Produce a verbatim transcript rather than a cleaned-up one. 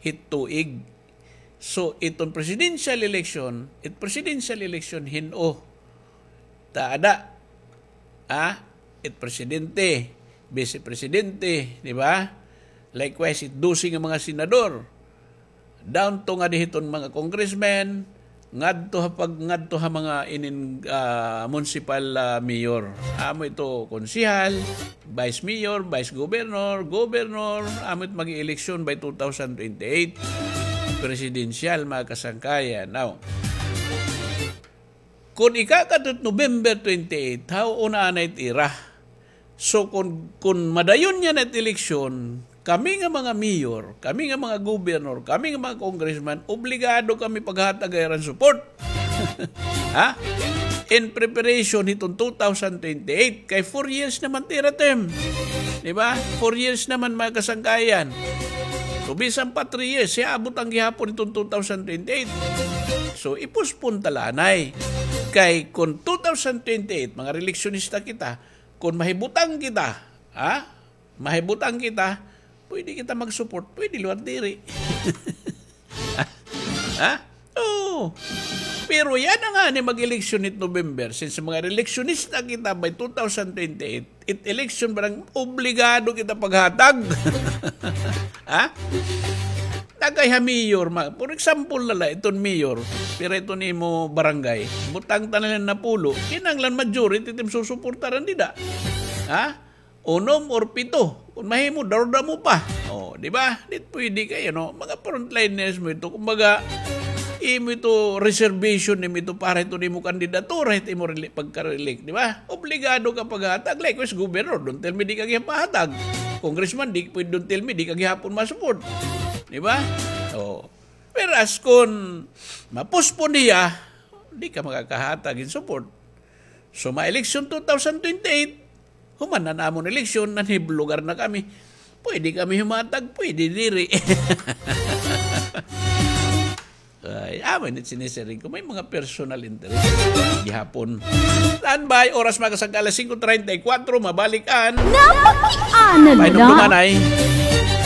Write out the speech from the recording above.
hit tuig. So, iton presidential election, it presidential election hin-o ta ada, ah, it presidente, vice presidente, di ba? Likewise, it dose nga mga senador. Down to ngadi hiton mga congressmen, ngadto ha pag-, ngadto ha mga inin, ah, municipal, ah, mayor. Amo ito konsehal, vice mayor, vice governor, governor, amo it mag-eleksyon by two thousand twenty-eight. Presidential, mga kasangkayan. Now, kon ikakadto November twenty-eight, haw una anay it ira. So, kon, kon madayon niyan it eleksyon, kami nga mga mayor, kami nga mga governor, kami nga mga congressman, obligado kami paghatag ha ira hin support. Ha? In preparation hiton two thousand twenty-eight, kay four years naman it ira term. Di ba? Four years naman, mga kasangkayan. So, bisan pa three years, hiya abot an gihapon hiton two thousand twenty-eight. So, i-postpone ta la anay. Kay kon two thousand twenty-eight, mga reeleksyonista kita, kon mahibutang kita, ha? Mahibutang kita, pwede kita mag-support, pwede liwat diri. Ha? Oo. Pero yana ngani mag-eleksyon hit November, since mga reeleksyonista kita by two thousand twenty-eight, it election barang obligado kita paghatag. Ha? Tagay ha mayor, ma-, for example na la, iton mayor, pira iton imo barangay, butang ta na la napulo, kinahanglan majority it im susuportaran dida. Ha? Unom or pito. Kon mahimo, darudamo pa. O, di ba? Di pwede kay, ano, mga frontliners mo ito. Kumbaga, imo ito reservation nimo ito para ito nimo kandidatura, ito imo reli-, pagka-re-elect, di ba? Obligado ka paghatag. Likewise, governor, don't tell me di ka gihapahatag. Congressman, di pwede, don't tell me di ka gihapon ma-support. Di ba? O. Whereas, kon ma-postpone niya, di ka makakahatag hin support. So, ma-election two thousand twenty-eight, human na an amon eleksyon, nanhiblogar na kami. Pwede kami humatag, pwede diri. Ay, amo ini it sinisiring ko. May mga personal interest. Gihapon. Standby, oras mga kasangkayan, alas singko treinta y cuatro, mabalik an Napakiana Painom la. Dumanay.